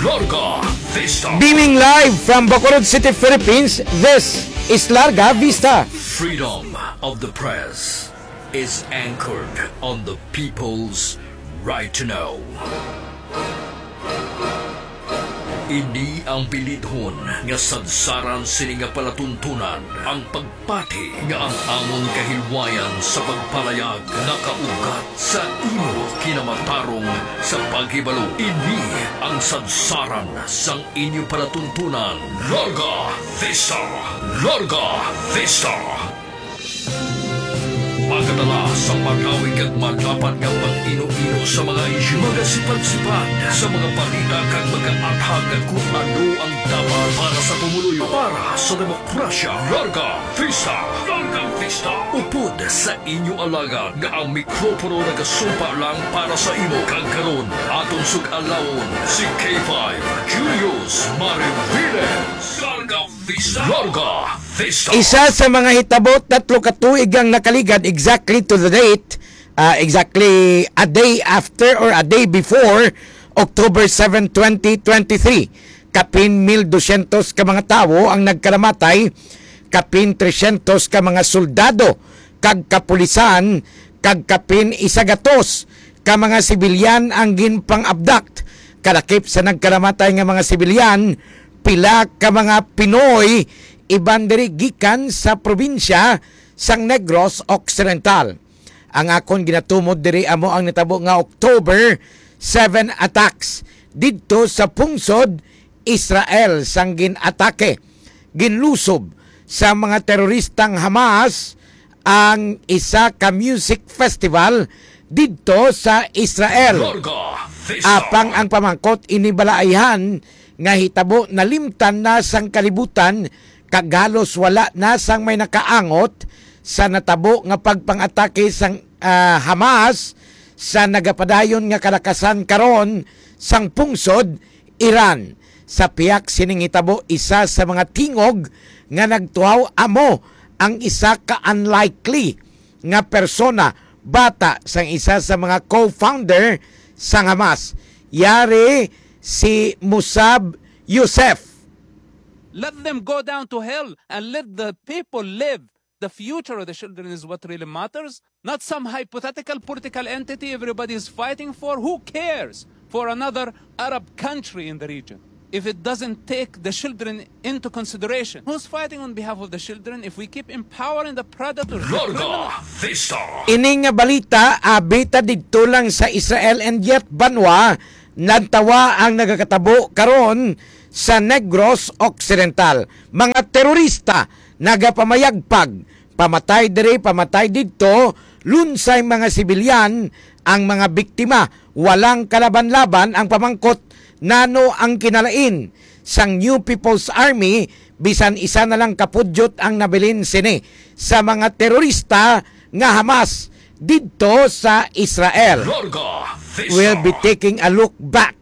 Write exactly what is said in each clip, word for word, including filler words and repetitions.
Larga Vista. Beaming live from Bacolod City, Philippines, this is Larga Vista. Freedom of the press is anchored on the people's right to know. Ini ang bilidhon nga sadsaran sini nga palatuntunan, ang pagpati nga ang amon kahilwayan sa pagpalayag nakaugat sa imo kinamatarong sa paghibalo. Ini ang sadsaran sang inyo palatuntunan. Larga Vista! Larga Vista! Magadala sa malawig kag madapat nga pag-ino-ino sa mga isyu, magasipad-sipad sa mga balita kag mag-aathag kung ano ang dapat para sa pumuluyo, para sa demokrasya. Larga Vista! Larga Vista! Upod sa inyo alagad nga ang mikropono nagasumpa lang para sa imo, kag karon aton sug-alawon si K five Julius Mariviles. Larga Vista! Larga Vista! Isa sa mga hitabo, tatlo ka tuig ang nakaligad, exactly to the date, ah, exactly a day after or a day before October seven, twenty twenty-three. Kapin mil dosyentos ka mga tawo ang nagkalamatay, kapin tresyentos ka mga soldado kag kapulisan, kag kapin isagatos ka mga sibilyan ang ginpang-abduct. Kalakip sa nagkalamatay nga mga sibilyan, pila ka mga Pinoy, iban diri gikan sa probinsya sang Negros Occidental. Ang akon ginatumod diri amo ang natabo nga October seven attacks didto sa pungsod Israel, sang gin-atake, ginlusob sa mga teroristang Hamas ang isa ka music festival didto sa Israel. Larga Vista. Apang ang pamangkot, ini bala ayhan nga hitabo nalimtan na sang kalibutan, kag halos wala na sang may nakaangot sa natabo nga pagpang-atake sang, ah, Hamas sa nagapadayon nga kalakasan karon sang pungsod Iran. Sa pihak sining hitabo, isa sa mga tingog nga nagtuhaw amo ang isa ka unlikely nga persona, bata sang isa sa mga co-founder sang Hamas, yari si Musab Youssef. Let them go down to hell and let the people live. The future of the children is what really matters, not some hypothetical political entity everybody is fighting for. Who cares for another Arab country in the region if it doesn't take the children into consideration? Who's fighting on behalf of the children if we keep empowering the predators, the Larga criminals? Vista. Ini nga balita, abi ta didto lang sa Israel, and yet banwa, nantawa ang nagakatabo karon sa Negros Occidental. Mga terorista nagapamayagpag, pamatay diri, pamatay didto, lunsay mga sibilyan ang mga biktima. Walang kalaban-laban ang pamangkot, nano ang kinalain sang New People's Army, bisan isa na lang ka pudyot ang nabilin sini sa mga terorista nga Hamas didto sa Israel. Larga Vista. We'll be taking a look back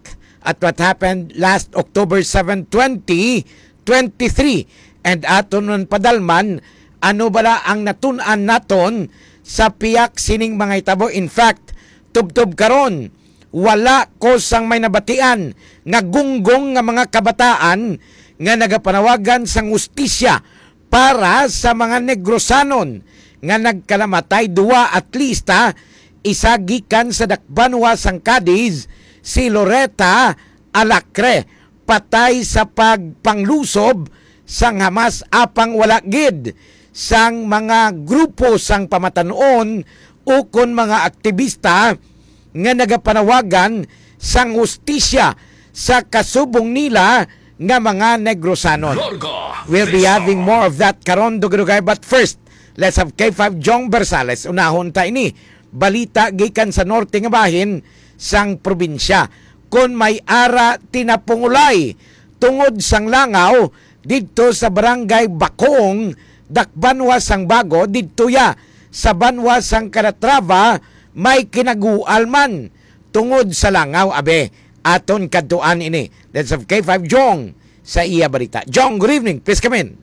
at what happened last October seven, twenty twenty-three, and aton man padalman ano bala ang natun-an naton sa pihak sining mga hitabo. In fact, tubtob karon, wala ko sang may nabatian nga gunggong nga mga kabataan nga nagapanawagan sang hustisya para sa mga Negrosanon nga nagkalamatay. Duwa at least, ha, isa gikan sa dakbanwa sang Cadiz, si Loretta Alacre, patay sa pagpanglusob sang Hamas, apang wala gid sang mga grupo sang pamatan-on ukon mga aktibista nga nagapanawagan sang hustisya sa kasubong nila nga mga Negrosanon. Larga Vista. We'll be having more of that karon, dugay-dugay. But first, let's have K five Jong Bersales. Unahon ta ini. Balita gikan sa norte nga bahin sang probinsya. Kon may ara tinapungulay tungod sang langaw didto sa Barangay Bakong, dakbanwa sang Bago, didto ya sa banwa sang Calatrava, may kinagual man tungod sa langaw. Abe, aton kadtuan ini. Let's have K five Jong sa iya balita. Jong, good evening. Please come in.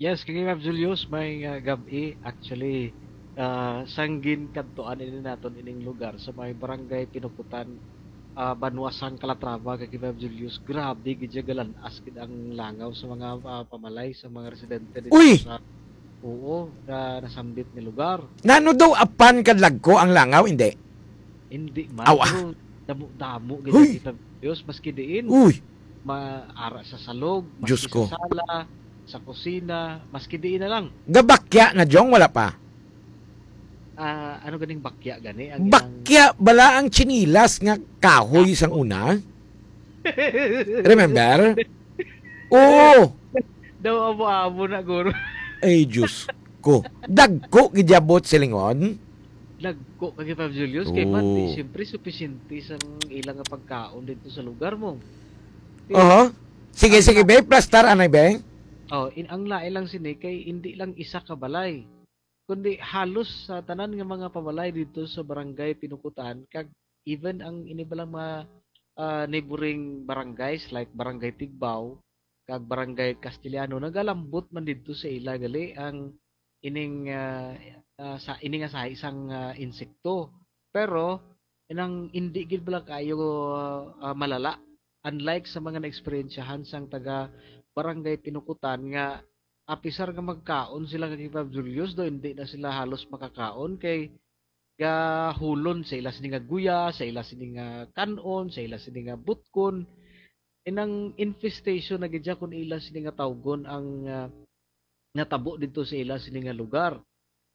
Yes, kay Ma'am Julius, may, uh, gab-i. Actually, uh, sanggin kadtuan ini naton ining lugar sa may Barangay Pinukutan, ah, Banwa San Calatrava, kag Five Julius, grabe gid siya, galan-as gid ang langaw sa mga, ah, pamalay, sa mga residente dito Uy! sa, oo, na nasambit nga lugar. Nano daw apan kadlagko ang langaw, hindi? Hindi man, Aw, ah. pero damo-damo gid Huy! ang Five Julius, maski diin. Uy! Ma-, ara sa salog, Diyos maski ko. sa sala, sa kusina, maski diin na lang. Gabakya na, Jong, wala pa? Ah, ano ganing bakya gani? Ang ilang Bakya bala ang tsinilas nga kahoy sang una? Remember? Oo. Daw abo-abo na, guro. Ay, Diyos ko. Dagko gid abot silingon. Dagko kay Five Julius, kay man, di, Oo. siyempre, supisente sang ilang nga pagkaon dito sa lugar mo. Di, Oho. Sige, ang sige, la- be. Plastar, anay, be. Oh, in, ang lain lang sini kay hindi lang isa ka balay, kundi halos sa tanan nga mga pabalay dito sa Barangay Pinukutan, kag even ang ini balang mga, ah, neighboring barangays like Barangay Tigbao kag Barangay Castellano, nagalambot man didto sa ila gali ang ining, ah, ah, sa ini nga sahi sang, ah, insekto. Pero inang indi gid bala kayo, ah, malala, unlike sa mga naeksperyensyahan sang taga Barangay Pinukutan nga apisar nga magkaon sila kag Five Julius, do hindi na sila halos makakaon kay gahulon sa ila sini nga guya, sa ila sini nga kan-on, sa ila sini nga butkon. Inang infestation na gid siya kung ila sini nga tawgon ang, ah, natabo dito sa ila sini nga lugar.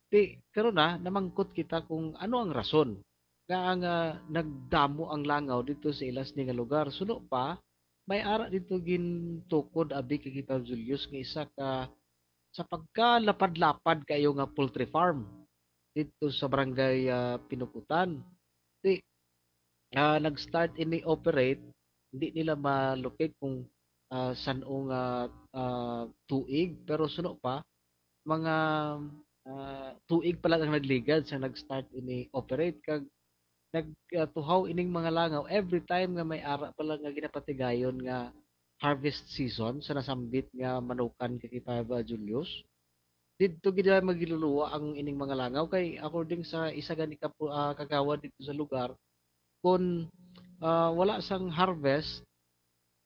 Ti, karon na, namangkot kita kung ano ang rason nga ang, ah, nagdamo ang langaw dito sa ila sini nga lugar. Suno pa, may ara dito gintukod abi kay Five Julius nga isa ka sa pagkalapad-lapad kayo nga poultry farm dito sa barangay, ah, Pinukutan. Ti, ah, nag-start ini operate, hindi nila ma-locate kung, ah, san-o nga, ah, tuig, pero suno pa, mga, ah, tuig pa lang ang nagligad sa nag-start ini operate, kag nag, ah, tuhaw ining mga langaw every time nga may ara pa lang nga ginapatigayon nga harvest season sa nasambit nga manukan kay Five Julius. Didto gid magiluluwa ang ining mga langaw kay according sa isa gani ka pu-, ah, kagawad dito sa lugar, kun, ah, wala sang harvest,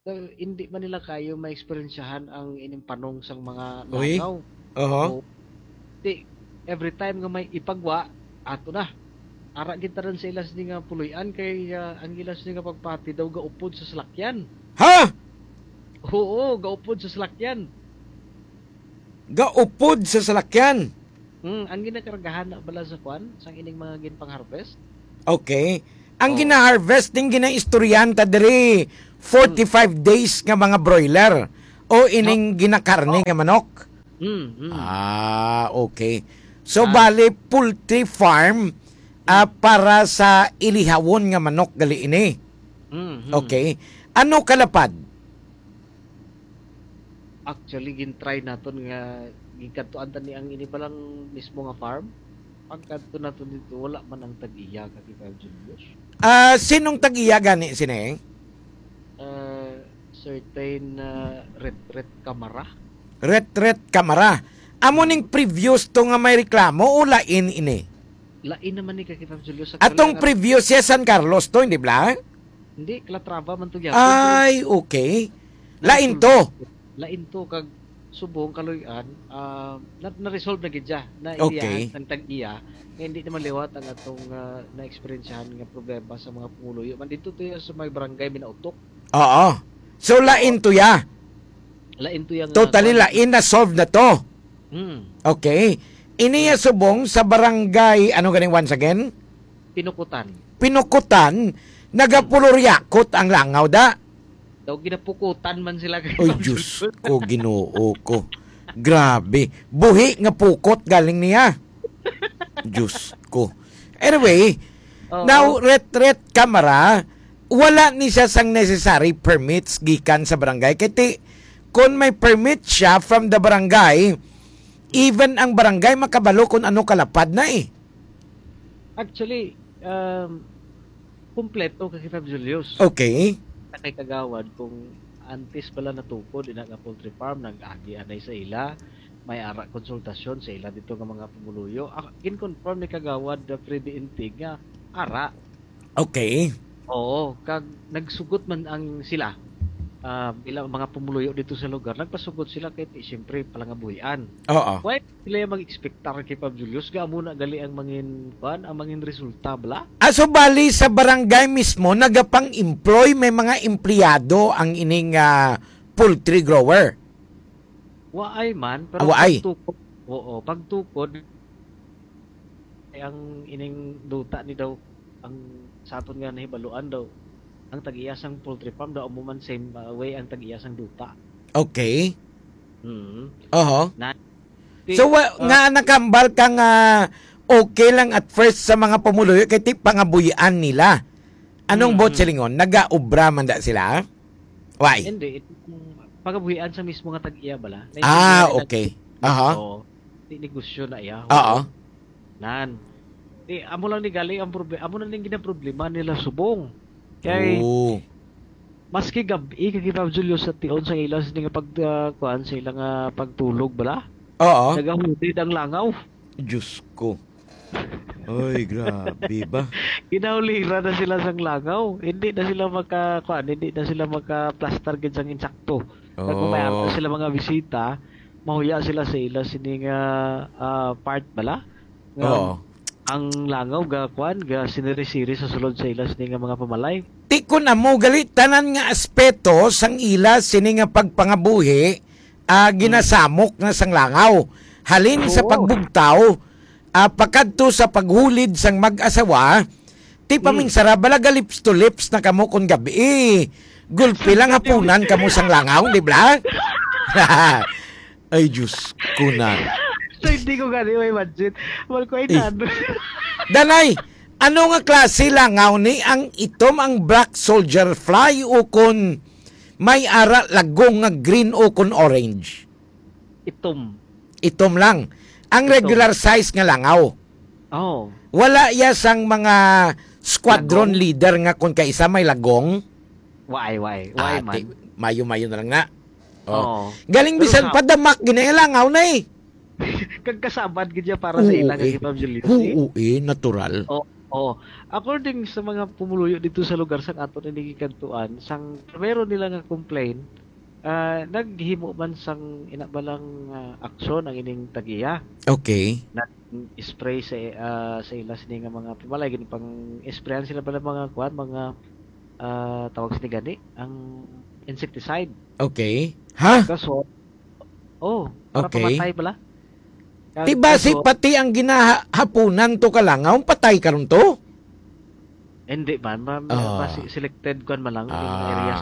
eh, hindi man nila kayo maeksperiensyahan ang ining panong sang mga Uy. langaw. Oho. O, di, every time nga may ipagwa, ato na. Ara gid tanan sa ilas ni nga puloy-an kay, ah, ang ilas ni nga pagpati daw gaupod sa salakyan. Ha? Oo, gaupod sa salakyan. Gaupod sa salakyan? Hmm, ang ginakargahan na bala sa kwan, sang ining mga ginpang-harvest? Okay. Ang Oh. gina-harvest din ginaistoryahan ta diri, forty-five days nga mga broiler o ining ginakarne nga manok? Hmm, hmm. Ah, okay. So, Ah. bali, poultry farm, ah, Hmm. para sa ilihawon nga manok gali ini. Hmm, hmm. Okay. Ano kalapad? Actually, gin-try naton nga ginkadtuan ta ni ang ini pa lang mismo nga farm. Pagkadto naton dito, wala man ang tag-iya ka kita, Julius. Ah, sinong tag-iya gani sini? Ah, certain, ah, Ret Ret Kamara. Ret Ret Kamara. Amo ning previous to nga may reklamo o lain ini? Lain naman ni ka kita, Julius. Sa Atong kailangan previous siya San Carlos to, hindi bala? Hindi, Calatrava man to gyapon, pero Ay, okay. Lain to. Lain to, kag subong kaluy-an, ah, na, na-resolve na gid siya. Na Okay. iliyahan ang tag-iya, nga hindi naman liwat ang atong, ah, na-eksperyensyahan nga problema sa mga pumuluyo. Man dito to ya sa may barangay Minautok. Oo. So, lain to ya. Lain to ya nga Totally kwan. lain na solve na to. Hmm. Okay. Ini ya subong sa barangay, ano ganing once again? Pinukutan. Pinukutan, nagapuloryakot ang langaw da. Daw ginapukutan man sila kay Oy, Ma'am Diyos Judith. ko, Ginoo ko. Grabe. Buhi nga pukot galing niya. Diyos ko. Anyway, Oo. now, Ret Ret Kamara, wala ni siya sang necessary permits gikan sa barangay. Kay ti, kung may permit siya from the barangay, even ang barangay makabalo kung ano kalapad na eh. Actually, um, kumpleto ka kita, Julius. Okay. Sa kay kagawad, kung antes pala natukod, ina nga poultry farm, nag-agi anay sa ila, may ara konsultasyon sa ila dito nga mga pumuluyo. Ah, gin-confirm ni kagawad, uh, Freddy Intig nga ara. Okay. Oo, kag nagsugot man ang sila, ah, bilang mga pumuluyo dito sa lugar, nagpasugot sila kay ti-, siyempre, palangabuhian. Oo. Why sila yung mag-expectar kay Pab Julius? Nga amo na gali ang mangin, kuan, ang mangin resulta, bala? Ah, so bali sa barangay mismo, nagapang-employ, may mga empleyado ang ining, ah, poultry grower? Waay man, pero Waay. pagtukod, oo, pagtukod, ang ining duta ni daw, ang sa aton nga nahibaluan daw, ang tag-iya sang poultry farm daw amo man same, uh, way ang tag-iya sang duta. Okay. Mm. Oho. Na, ti-, So, wa-, uh, nga nakambal ka nga okay lang at first sa mga pumuluyo kay ti pangabuhian nila. Anong Mm, buot mm. silingon? Nagaobra man da sila? Why? Hindi, itong pagabuhian sa mismo nga tag-iya bala. Ah, Naintindihan nila okay. Aha. Oo. Di negosyo na iya. Oo. Nan. Di, amo lang ni gali ang proble-, amo lang ning ginaproblema nila subong. Kay Oo. maski gab-i kay Pab Julio sa tion sa ila sini nga pag, ah, kuan sa ila nga pagtulog bala. Oo. Nagahudid ang langaw. Diyos ko. Oy, grabe ba? Ginahulira na sila sang langaw. Hindi na sila maka, kuan, hindi na sila maka-plaster gid sang insakto. Kag kung may Oh. ato sila mga bisita, mahuya sila sa ila sini nga, ah, part bala. Nga Oo. ang langaw ga, kuan, ga siniri-siri sa sulod sa ila sini nga mga pamalay. Ti kun amo gali tanan nga aspeto sang ila sini nga pagpangabuhi, ah, Hmm. ginasamok na sang langaw. Halin sa Oo. pagbugtaw, ah, pakadto sa paghulid sang mag-asawa, ti Hmm. paminsara bala ga lips to lips na kamo kon gabi. Gulpi lang hapunan kamo sang langaw, di ba? Ay, Diyos ko na. So, hindi ko gani may budget. Wal ko Eh. inano. Danay, ano nga klase langaw ni ang itom, ang black soldier fly o kon may ara lagong nga green o kon orange? Itom. Itom lang. Ang Itom. regular size nga langaw. Oh. Wala ya sang mga squadron Lagong? leader nga kon kaisa may lagong? Why, why? Why Ah, man? ti-, mayo-mayo na lang na. Oh. Oo. Galing Pero bisan sa padamak, ginalangaw na eh. Kagkasabad gid siya para sa Oo, ila nga eh. Kay Pab Julius, eh. Oo, eh, natural. Oh, oh. According sa mga pumuluyo dito sa lugar sang aton ini gikantuan, sang primero nila nga complaint, ah, naghimo man sang ina ba lang, ah, aksyon ang ining tag-iya. Okay. Nag-spray sa, ah, sa ila sini nga mga pimalay, ginpang-sprayan sila pala mga kuan, mga, ah, tawag sini gani, ang insecticide. Okay. Ha? Kaso, oh, para Okay. pamatay pala. Kag Ti basi kaso, pati ang ginahapunan to kalangaw, patay karon to? Hindi man, ma-, Ah. basi selected kuan man lang, yung Ah. areas.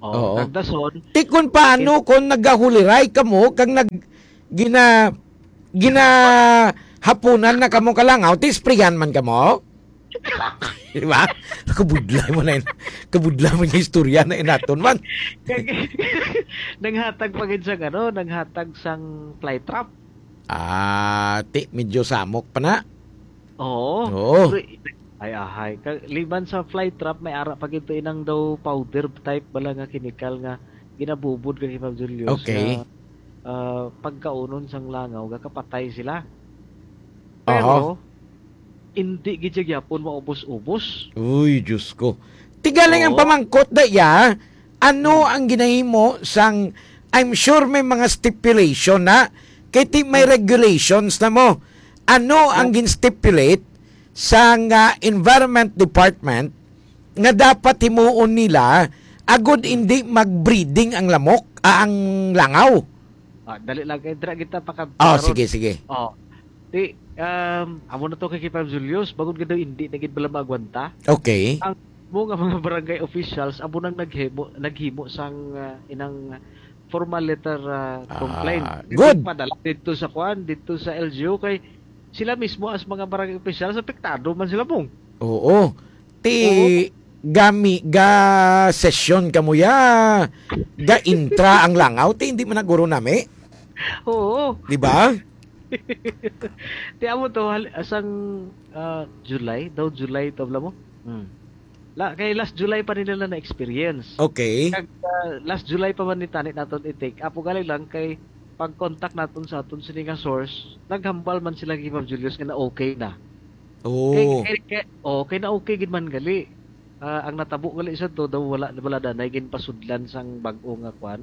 Oh, Oo. kag dason, Ti kun paano it- kung nagahuliray kamo kag nag-, gina-, ginahapunan na kamo kalangaw, ti sprayan man kamo? Di ba? Kabudlay mo na yun. Kabudlay mo yung istorya na inaton man. Kag-, nanghatag pa gid sang ano, nanghatag sang fly trap. Ah, ti, medyo samok pa na. Oo. Oo. Pero, ay, ahay. Ka-, liban sa fly trap, may ara pa gid to inang daw powder type bala nga chemical nga ginabubod kay Pab Julius Okay. nga, ah, pagkaunon sang langaw, gakapatay sila. Aha. Pero, hindi gid siya gyapon maubos-ubos. Uy, Diyos ko. Tigaling ang Oo. pamangkot da iya, ano Hmm. ang ginahimo sang, I'm sure may mga stipulation na, kay ti may Hmm. regulations na mo. Ano ang Oh. gin-stipulate sang, ah, Environment Department nga dapat himuon nila agud Hmm. hindi mag-breeding ang lamok, ah, ang langaw? Ah, dali lang kay dira kita paka-, Oh, karon. sige, sige. Oh. Di, um, amo na to kay Kipab Julius, bangod nga daw hindi na gid bala maagwanta. Okay. Ang mo nga mga barangay officials, amo nang naghimo, naghimo sang, ah, inang formal letter, ah, Ah, complaint. Dito good. Padala dito sa kuan, dito sa L G U kay sila mismo as mga barangay officials, apektado man sila, Bong. Oo. Ti Oo. gami, ga session kamo ya, ga intra ang langaw, ti hindi man naguro nami. Oo. Di ba? Ti amo to, hal-, asang, ah, July? Daw July to, alam mo? Hmm. La-, kay last July pa nila na na-experience. Okay. Kag, ah, last July pa man ni tani naton i-take. Apo gali lang kay pag-contact naton sa aton sini nga source, naghambal man sila kay Ma'am Julius nga na okay na. Oh. Kay, kay, kay, oh, kay na okay gid man gali. Ah, ang natabo gali sa to, daw wala, wala danay ginpasudlan sang bag-o nga kwan,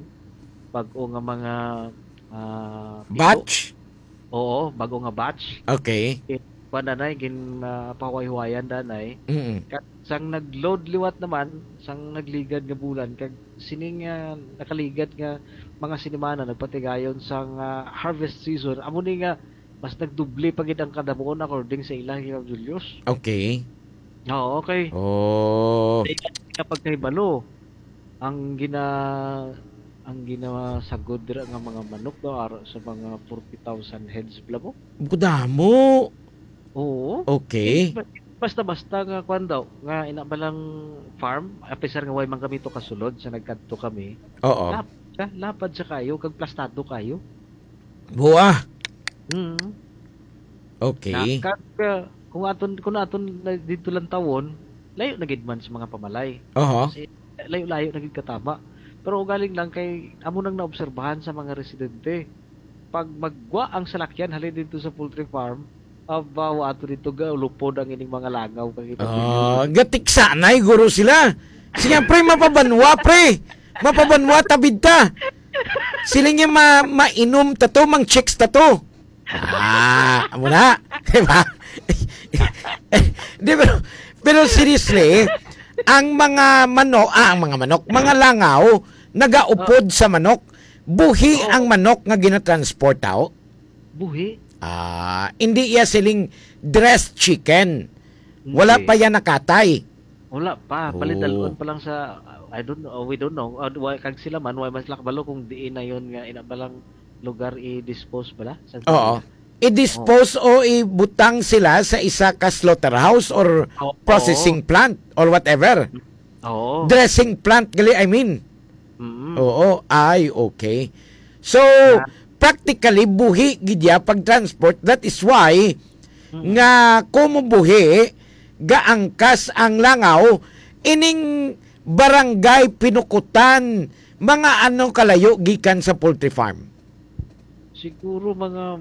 bag-o nga mga, ah, piso. Batch? Oo, bag-o nga batch. Okay. Eh, kwan danay, gin, ah, pahuway-huwayan danay. Mm. Kag sang nag-load liwat naman, sang nagligad nga bulan, kag sining, ah, nakaligad nga mga sinimana, nagpatigayon sang, ah, harvest season, amo ni nga mas nagdoble pa gid ang kadamuon according sa ila, Ma'am Julius. Okay. Oo, okay. Oh. Sa ila nga pagkahibalo, ang gina-, ang ginasagod dira nga mga manok daw, aro sa mga forty thousand heads bala mo. Kadamo. Oo. Okay. Eh, ba-, basta-basta nga kwan daw, nga ina ba lang farm, apisar nga way man kami to kasulod sa nagkadto kami. Oo. Lap-, ka, lapad sa kayo, kag plastado kayo. Buwa. Mm. Okay. Na, kag, uh, kung aton, kung aton na dito lang tawon, layo na gid man sa mga pamalay. Oho. Kasi layo-layo na gid katama. Pero ugaling lang kay amo nang naobserbahan sa mga residente. Pag maggwa ang salakyan halin dito sa poultry farm, aba, wa ato dito ga, lupod ang ining mga langaw kag Ah, gatiksanay guro sila. Siyempre, mapabanwa, pre. Mapabanwa, tabid ta. Sila niya ma-, mainom ta to, mang chicks ta to. Ah, amo na. Diba? Di, pero, pero seriously, ang mga mano-, ah, ang mga manok, mga langaw, nagaupod sa manok. Buhi Oo. ang manok nga ginatransport, tao? Buhi. Ah, hindi iya siling dressed chicken. Wala Hindi. pa yan nakatay. Wala pa. Oh. Balidalon pa lang sa, I don't know, we don't know. Uh, wa-, kag sila man, wa man sila kabalo kung diin na yun nga ina ba lang lugar i-dispose bala? Sa Oo. I-dispose Oo. o ibutang sila sa isa ka slaughterhouse or Oo. processing plant or whatever. Oo. Dressing plant gali, I mean. Mm. Oo. Ay, okay. So, Na- practically, buhi gid ya pag-transport. That is why Mm. nga kumubuhi, gaangkas ang langaw, ining barangay Pinukutan, mga ano kalayo gikan sa poultry farm? Siguro mga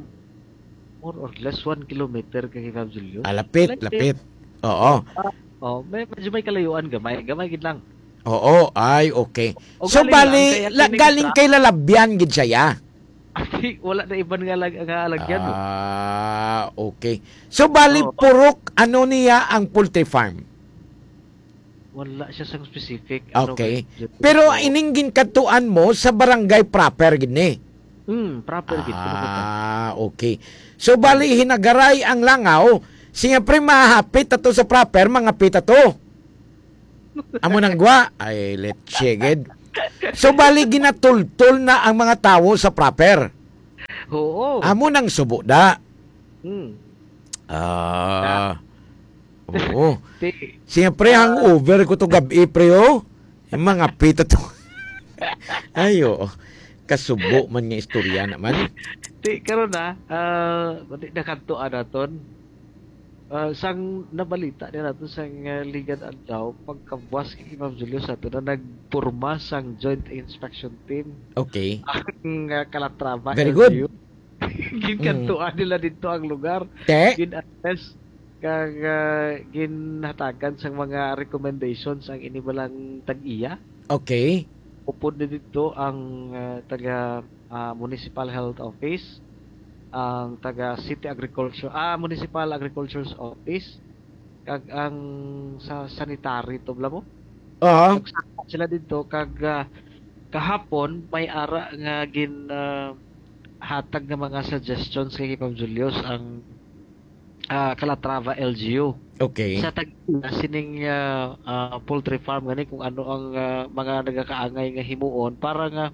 more or less one kilometer kay Ma'am Julius. Ah, lapit, Like, lapit. Oo. ah, oh, may, medyo may kalayuan gamay. Gamay gid lang. Oo, ay, okay. O So, galing bali, lang, kaya la-, kining galing sa kay Lalabyan gid siya, ya? Ati, wala na iban nga lag-, nga alagyan, no? Ah, okay. So, bali, Oo. purok, ano niya ang poultry farm? Wala siya sang specific, ano, Okay. kay Pero Oo. ining ginkadtuan mo sa barangay proper gid ni? Hmm, proper gid, Pinukutan. Ah, okay. So, bali, hinagaray ang langaw, siyempre, mahapit ato sa proper, mga pita to. Amo nang gwa? Ay, let's gid. So, bali, ginatultol na ang mga tawo sa proper. Oo. Amo nang subo da. Hmm. Ah. Oo. Ti-, Siyempre, ah, hangover ko to gabi, pre, oh. Yung mga pita to. Ay, oo. Kasubo man nga istorya naman. Ti, karon na, ah, di na kadto, ah, naton. Ah, sang nabalita nila to sang, ah, ligad adlaw, pagkabuas kay Ma'am Julius, ato na nagporma sang Joint Inspection Team. Okay. Ang, ah, Calatrava Very good. L G U. Ginkantuan Mm. nila dito ang lugar. Te? Gin-assess kag, ah, ginhatagan sang mga recommendations ang ini balang tag-iya. Okay. Upod na dito ang, ah, taga, ah, Municipal Health Office, ang taga City Agriculture, ah, Municipal Agriculture's Office, kag ang sa sanitary to, bala mo? Aha. Nagsaka sila dito, kag, ah, kahapon, may ara nga gin, ah, hatag nga mga suggestions kay Ma'am Julius ang, ah, Calatrava L G U. Okay. Sa tag-, sining, ah, ah, poultry farm gani kung ano ang, ah, mga nagakaangay nga himuon para nga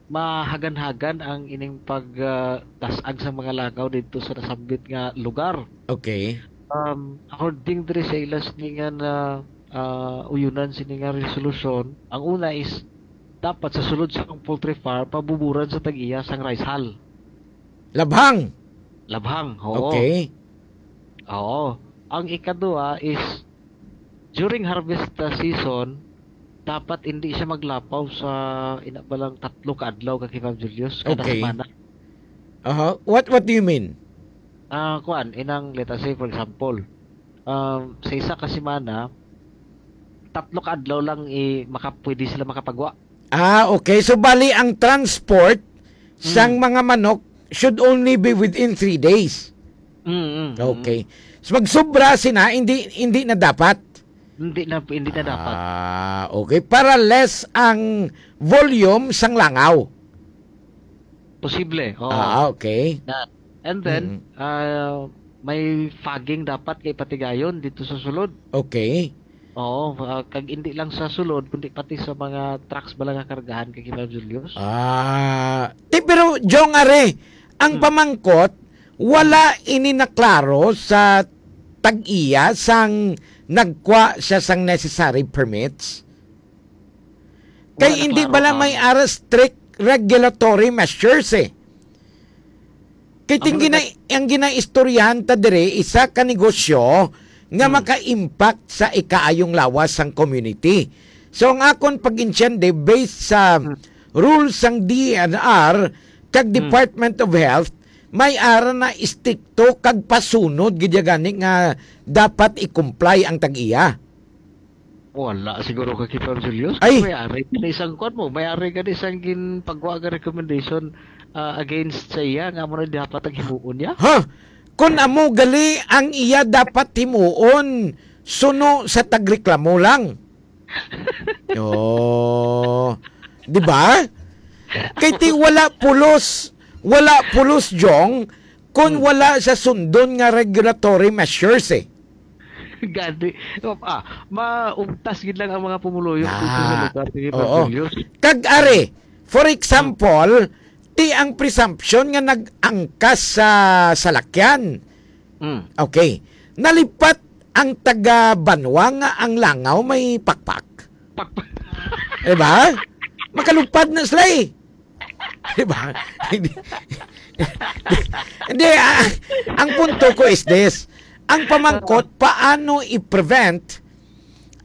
mahagan-hagan ang ining pag, ah, tas-ag sa mga langaw dito sa nasambit nga lugar. Okay. Um, according diri sa ila sining nga, ah, uyunan sini nga resolusyon, ang una is dapat sa sulod sa poultry farm, pabuburan sa tag-iya sang rice hull. Labhang? Labhang, oo. Okay. Oo. Ang ikaduha is, during harvest, uh, season, dapat hindi siya maglapaw sa ina ba lang tatlo ka adlaw ka, Ma'am Julius, kada Okay. semana. Aha. What, what do you mean? Ah, kuan, inang, let us say, for example, um, sa isa ka semana, tatlo ka adlaw lang i-, maka-, pwede sila makapagwa. Ah, okay. So, bali, ang transport sang Mm. mga manok should only be within three days. Mm, mm, mm. Okay. So, magsubra sina, hindi, hindi na dapat? Hindi na, hindi na dapat. Ah, okay. Para less ang volume sang langaw. Posible, oo. Ah, okay. Na, and then, Mm. ah, may fogging dapat kay patigayon dito sa sulod. Okay. Oo, ah, kag hindi lang sa sulod, kundi pati sa mga trucks bala nga kargahan kay Kay Julius. Ah, ti, pero, Jong, are, ang Hmm. pamangkot, wala ini naklaro sa tag-iya sang nagkwa siya sang necessary permits. Kay Wala hindi naklaro bala ang may ara strict regulatory measures, eh. Kay Amo ting na gina-, ang ginaistoryahan ta diri, isa ka negosyo nga Hmm. maka-impact sa ikaayong lawas sang community. So, ang akon pag-intiende, based sa Hmm. rules sang D N R kag Hmm. Department of Health, may ara na istrikto kag pasunod gid ya gani nga dapat i-comply ang tag-iya. Wala siguro ka, Kay Julius. Ay! May ari ka na isang kuwan mo. May ari ka na isang ginpagwa nga recommendation, ah, against sa iya, nga mo na dapat ang himuon niya. Ha? Kung amo gali ang iya dapat himuon, suno sa tagreklamo lang. Oh. Di ba? Kay ti wala pulos, wala pulos, Jong, kung Hmm. wala siya sundon nga regulatory measures, eh. Gani. Ah, maugtas gid lang ang mga pumuluyo dito sa Ah, lugar, sige, oo. Pag Julius. Kag are, for example, ti ang presumption nga nag-angkas sa salakyan. Mm. Okay. Nalipat ang taga banwa nga ang langaw may pakpak. Pakpak. Diba? Makalupad na sila eh. Diba? Hindi. Hindi, ah, ang punto ko is this. Ang pamangkot, paano i-prevent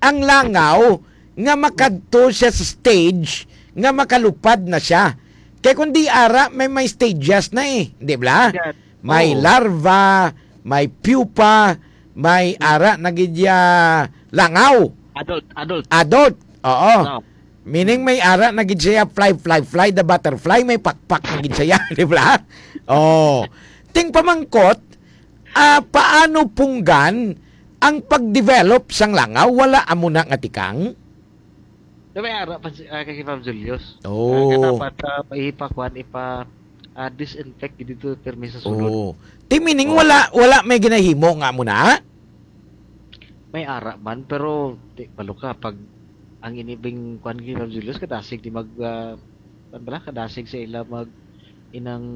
ang langaw nga makadto siya sa stage nga makalupad na siya? Kay kung di ara, may, may stages na eh. Di ba? Yes. May Oo. larva, may pupa, may Hmm. ara na gid ya langaw. Adult, adult. Adult. Oo. No. Meaning may ara na gid siya, fly, fly, fly, the butterfly, may pakpak na gid siya, di ba? Oh. Ting pamangkot, ah, paano punggan ang pag-develop sang langaw? Wala amo na nga tikang? Na may ara pa si, ah, kay Ma'am Julius. Oh. Ah, nga dapat, ah, ipakuan, ipa, ah, disinfect dito pirmi sa sulod. Oh. Ti meaning Oh. wala, wala may ginahimo nga amo na? May ara man, pero di, balo ka, pag ang inibing kuan kay Ma'am Julius, kadasig di mag, ah, kuan bala, kadasig sa ila mag inang